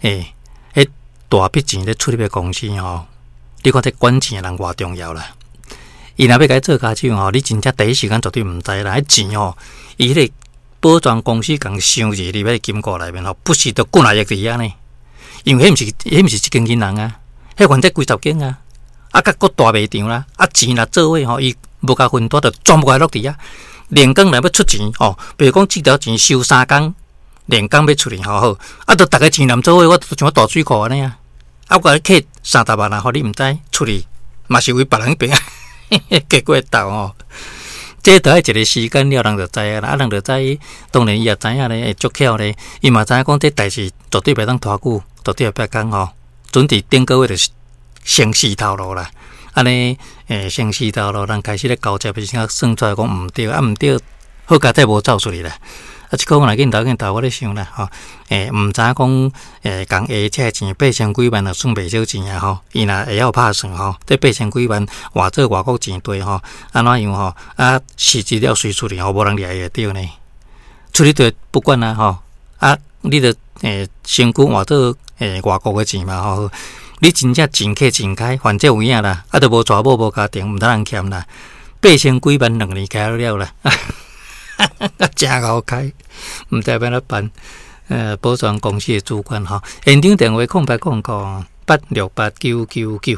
欸，彼大筆錢咧出入的公司吼，你看這管錢的人偌重要啦。伊若欲共你做跤手吼，你真正第一時間絕對毋知啦。彼錢吼，伊彼個保全公司共收入佇彼個金庫內面吼，不是著幾若億佇遐呢？因為彼毋是，彼毋是一間銀行啊，彼反正幾十間啊，啊，閣閣大賣場啦，啊，錢若做伙吼，伊無共分單，就全部來落佇遐。連工若欲出錢吼，比如講這條錢收3工，連工欲出去吼好，啊，著逐个錢連做伙，我就像大水庫按呢啊，啊，我共你扣30萬啊，予你毋知出去，嘛是為別人彼邊結果鬥吼。這著愛一个時間了，人就知影啦。啊，人就知，當然伊也知影咧，會足巧咧。伊嘛知影講這代誌絕對袂當拖久，絕對後壁工吼，準佇頂個月就先死頭路啦。按呢，先死頭路，人開始咧交接的時陣，算出來講毋對，啊毋對，好佳哉無走出去啦。啊，這個我若鏡頭鏡頭，我咧想啦，吼，毋知影講，共下車錢八千幾萬，就算袂少錢啊，吼，伊若會曉拍算吼，這八千幾萬換做外國錢兌吼，按怎樣吼？啊，實質了隨出去吼，無人掠會著呢？出去就不管啦，吼，啊，你著身軀換做外國的錢嘛，吼，你真正錢客錢開，反正有影啦，啊，著無娶某無家庭，毋通人欠啦，八千幾萬兩年開了啦。誠𠢕開，毋知欲按怎辦。保全公司的主管吼，現場電話0800868999。